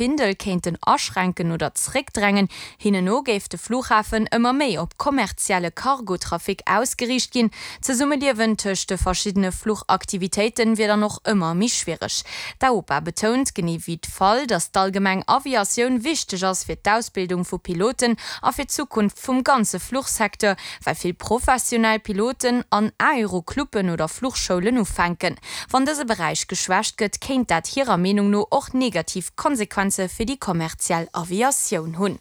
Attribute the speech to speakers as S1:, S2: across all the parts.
S1: Findel kéinten aschränken oder zréckdrängen. Hinnen no géif de Flughafen ëmmer méi op kommerzielle Cargotrafic ausgeriicht ginn. D'Zesummeliewen tëscht de verschiddene Fluchaktivitéite wier dann och ëmmer méi schwiereg. D'AOPA betount, genee wéi d'FAL, datt d'allgemeng Aviatioun wichteg ass fir d'Ausbildung vu Piloten a fir d'Zukunft vum ganze Fluchsecteur, well vill professionell Piloten an Aerocluben oder Fluchschoulen ufänken. Wann dëse Beräich geschwächt gëtt, kéint dat hirer Meenung no och negativ Konsequenze fir déi kommerziell Aviatioun hunn.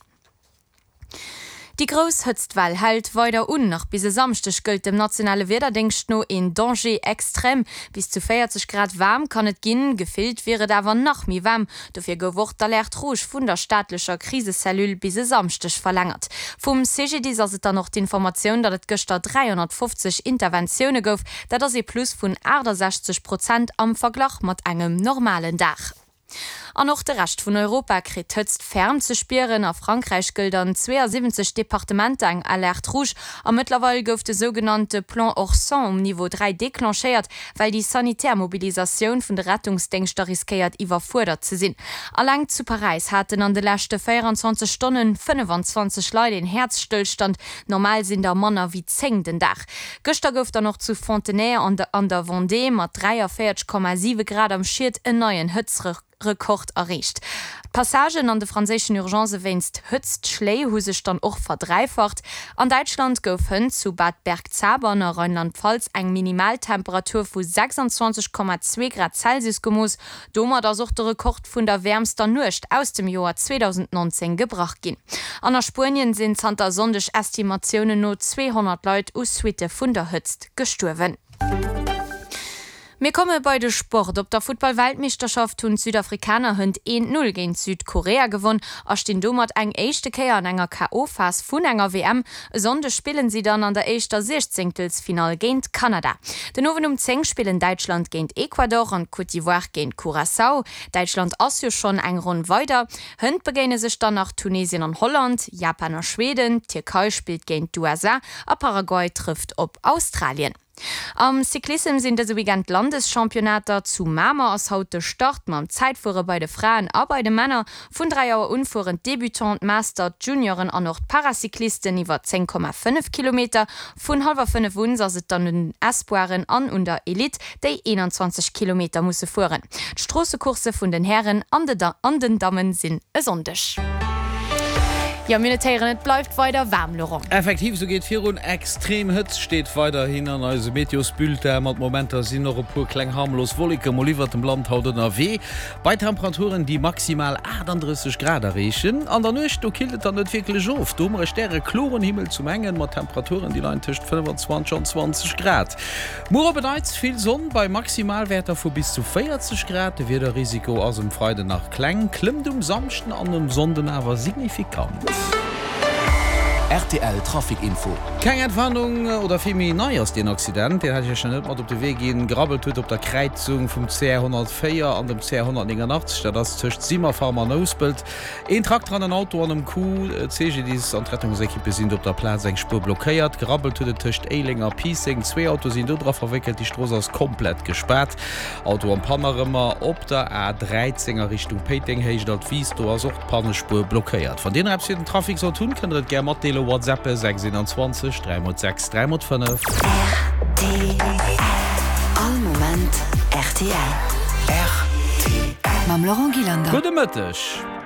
S1: Déi grouss Hëtztwell hält weider un. Nach bis e Samschdeg gëllt dem nationale Wiederdéngscht no een Danger extrême. Bis zu 40 Grad waarm kann et ginn, gefillt wier et awer nach méi waarm. Dofir gouf och d'Alerte rouge vun der staatlecher Krisecellule bis e Samschdeg verlängert. Vum CGDIS ass et dann och d'Informatioun, datt et gëschter 350 Interventioune gouf. Dat ass ee Plus vun 68 Prozent am Verglach mat engem normalen Dag. An och de Rescht vun Europa kritt d'Hëtzt ferm ze spieren. A Frankräich gëllt an 72 Departementer eng Alerte rouge a mëttlerweil gouf de sougenannte Plan Orsan um Niveau 3 declenchéiert, well déi sanitär Mobilisatioun vun de Rettungsdéngschter riskéiert iwwerfuerdert ze sinn. Alleng zu Paräis haten an de leschte 24 Stonne 25 Leit een Häerzstëllstand, normal sinn der manner wéi 10 den Dag. Gëschter gouf dann och zu Fontenay an der Vendée mat 43,7 Grad am Schied en neien Hëtztrekord erreecht. D'Passagen an de franséischen Urgencë wéinst Hëtztschléi hu sech dann och verdräifacht. An Däitschland gouf hënt zu Bad Bergzabern a Rheinland-Pfalz eng Minimaltemperatur vu 26,2 Grad Celsius gemooss. Domat ass och de Rekord vun der wäermster Nuecht aus dem Joer 2019 gebrach ginn. An a Spuenien sinn zanter e Sonndeg Estimatiounen no 200 Leit u Suitte vun der Hëtzt gestuerwen. Mir komme bei de Sport. Op der Futtball-Weltmeeschterschaft hunn d'Südafrikaner hënt 1, 0 géint Südkorea gewonn a stinn domat eng éischte Kéier an enger KO-Phas vun enger WM. E Sonndeg spillen si dann an der éischter Siechzéngtelsfinall géint Kanada. Den Owend um 10 spillen Däitschland géint Ecuador an d'Côte d'Ivoire géint Curaçao. Däitschland ass jo schonn eng Ronn weider. Hënt begéine sech dann nach Tunesien an Holland, Japan a Schweden, d'Tierkei spillt géint d'USA a Paraguay trëfft op Australien. Am Cyclissem sinn dëse Weekend d'Landeschampionnater. Zu Mamer ass haut de Start mam Zäitfuere bei de Fraen a bei de Männer. Vun 3 Auer un fueren d'Débutants, d'Master, d'Junioren an och d'Paracyclisten iwwer 10,5 Kilometer. Vun hallwer 5 un ass et dann un den Espoiren an un der Elite, déi 21 Kilometer musse fueren. D'Stroossecoursse vun den Hären an den Dammen sinn e Sonndeg. Jo, mir notéieren, et bleift weider waarm, Laurent.
S2: Effektiv, esou geet virun. Extrem Hëtzt steet weiderhin an eisem Meteosbulletin. Mat Momenter sinn och e puer kleng harmlos Wolleke mol iwwert dem Land haut ënnerwee, bei Temperaturen, déi maximal 38 Grad erreechen. An der Nuecht, do killt et dann net wierklech of. Do hu mer e stärekloren Himmel zum engen, mat Temperaturen, déi leien tëscht 25 an 20 Grad. Muer op en Neits vill Sonn bei Maximalwäerter vu bis zu 40 Grad. De Wiederrisiko ass um Freiden nach kleng, klëmmt um Samschden an um Sonnden awer signifikant.
S3: Rtl Trafic Info.
S2: Keng Entwarnung, oder vill méi nei ass deen Accident, deen hat ech iech nach net mat op de Wee ginn, gerabbelt huet op der Kräizung vum CR 104 an dem CR 189, dat ass tëscht Simmerfarm an Nouspelt. Een Trakter an en Auto an um Coup. D'CGDIS an d'Rettungsekippe sinn do op der Plaz, eng Spuer blockéiert. Gerabbelt huet et tëscht Éileng a Piisseng. Zwee Autoe sinn do dra verwéckelt, déi Strooss ass komplett gespaart. Auto am Panne erëmmer op der A 13 a Richtung Péiteng, Héicht Altwis, do ass och d'Pannespuer blockéiert. Wann Dir nach eppes fir den Trafic sollt hunn, kënnt der et gär matdeelen, WhatsAppe 6 21 3 mol 6 3 mol 5.
S4: Rtl. All Moment rtl.
S3: Rtl.
S4: Mam Laurent Gillander.
S2: Gudde Mëtteg.